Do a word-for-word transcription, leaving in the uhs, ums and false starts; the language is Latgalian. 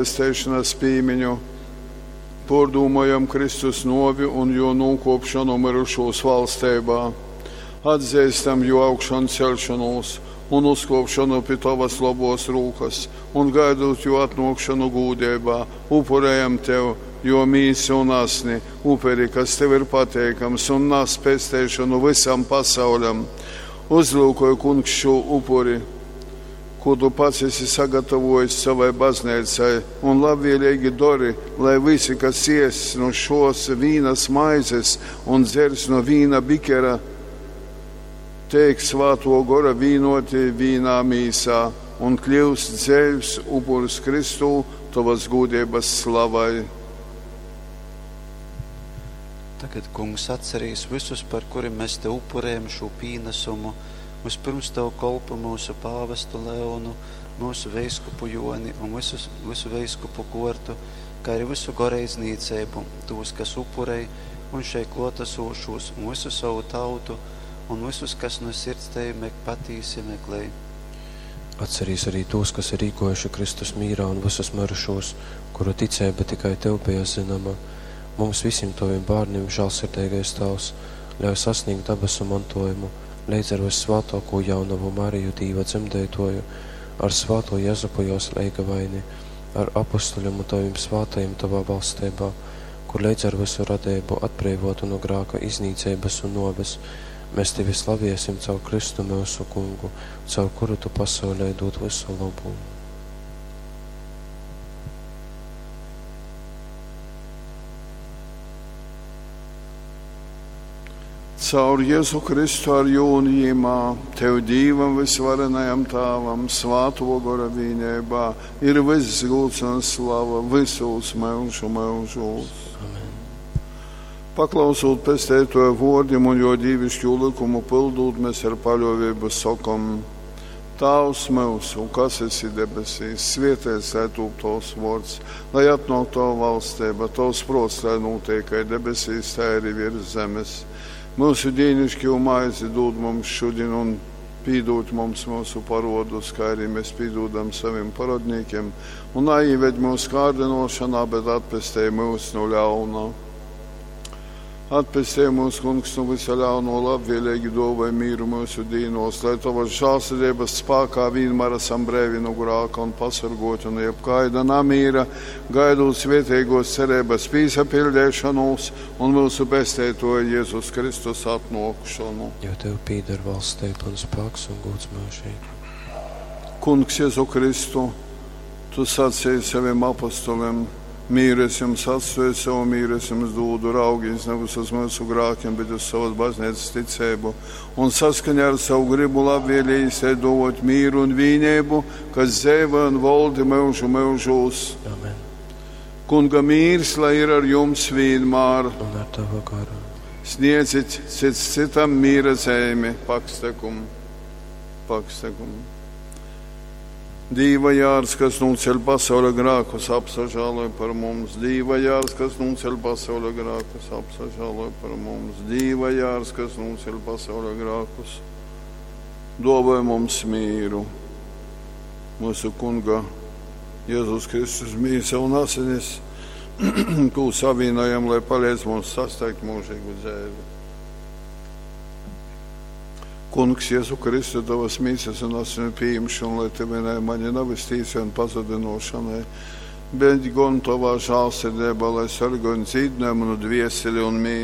Pesteišonas pīmiņu pōrdūmojam Kristus nōvi un jō nūkōpšonu myrušūs valsteibā. Atzeistam jō augšanceļšonūs un uzkōpšonu pi tovas lobōs rūkas un, gaidūt jō atnōkšonu gūdeibā, upurejam tev jō mīsu un asni, uperi, kas tev ir pateikams un nas pesteišonu vysam pasauļam. Uzlyukoj, Kungs, šū upuri, kū tu pats esi sagatavojis sovai bazneicai, un labvēlīgi dori, lai visi, kas ēss nu šōs vīnas maizes un dzers nu vīna bikera, teik Svātō Gora vīnoti vīnā mīsā un kļyust dzeivs upurs Kristū tovas gūdeibas slavai. Tagad, Kungs, atcerīs vysus, par kurim mēs tev upurējam šū pīnasumu, vyspyrms tavu kolpu myusu pāvestu Leonu, myusu veiskupu Joni un visus, visu veiskupu kortu, kā arī visu goreidznīceibu, tos, kas upurej, un šeit klōtasūšos, un visu savu tautu, un visus, kas no sirds tevi mek patīsi meklej. Atcerīs arī tos, kas ir īgojuši Kristus mīrā un visus mirušos, kuru ticība tikai tev bija zināma. Mums visiem taviem bērniem, žēlsirdīgais Tēvs, ļauj sasniegt dabasu mantojumu, līdz ar vissvētāko jaunavu Mariju Dīva dzemdētoju, ar svāto Jezupu jos leigavaini, ar apustuļiem un taviem svātajiem tavā valstībā, kur līdz ar visu radību atbrīvotu no grāka iznīcības un noves, mēs tevi slaviesim caur Kristu mūsu kungu, caur kuru tu pasaulē dod visu labu. Caur Jēzu Kristu ar jū un jīmā, tev Dīvam visvarenajam Tāvam, svāto gora vīnībā, ir viss gūds un slava visos mūžu mūžos. Amen. Paklausot pestētoja vōrdim un jo dīvišķo likumu pildūt, mēs ar paļovību sakom: Tāvs mūsu, kas esi debesīs, svētīts lai tūp tavs vārds, lai atnāk tava valstība, tavs prāts, lai notiek kā debesīs, tā arī virs zemes. Mūsu dienišķo maizi dod mums šodien un pīdūt mums mūsu parodus, kā arī mēs pīdūdam saviem parodniekiem, un neieved mūsu kārdinošanā, bet atpestej mūs no ļauna. Atpestej mūs, Kungs, no visa ļauno, labvēlīgi dāvāj mīru mūsu dīnos, lai tavas žēlsirdības spēkā vienmēr esam brīvi no grāka un pasargoti no jebkaida namīra, gaidot svētīgos cerības pīsapildīšanos un mūsu pestētoja Jēzus Kristus atnākšanu. Jo tev pīder valstība un spēks un gods mūžīgi. Kungs Jēzu Kristu, tu sacīji saviem apostoliem: mīru es jums atstāju, savu mīru es jums dodu, raugīs nevis uz mūsu grākiem, bet uz savas baznīcas ticību. Un saskaņā ar savu gribu labvēlīgi dot mīru un vīnību, kas dzēva un valdi mūžu mūžos. Amen. Kunga mīrs, lai ir ar jums vienmēr. Un ar tavu garu. Sniedzit cits citam mīra zīmi, pakstekumu, pakstekumu. Dīva jārs, kas nūceļ pasaules grākus, apsažāloj par mums. Dīva jārs, kas nūceļ pasaules grākus, apsažāloj par mums. Dīva jārs, kas nūceļ pasaules grākus, dāvāj mums mīru. Mūsu Kunga Jēzus Kristus mīsa un asinis, ko savienojam, lai palīdz mums sasniegt mūžīgu dzīvi. Kungs, Jēzu Kristu, tavas mīsas un asinu pieņemšanu, lai tev vienai mani nav iztīsa un pazudinošanai, bet gan tavā žēlsirdībā, lai sargāj un dzīdināj manu dvieseli un mīsu.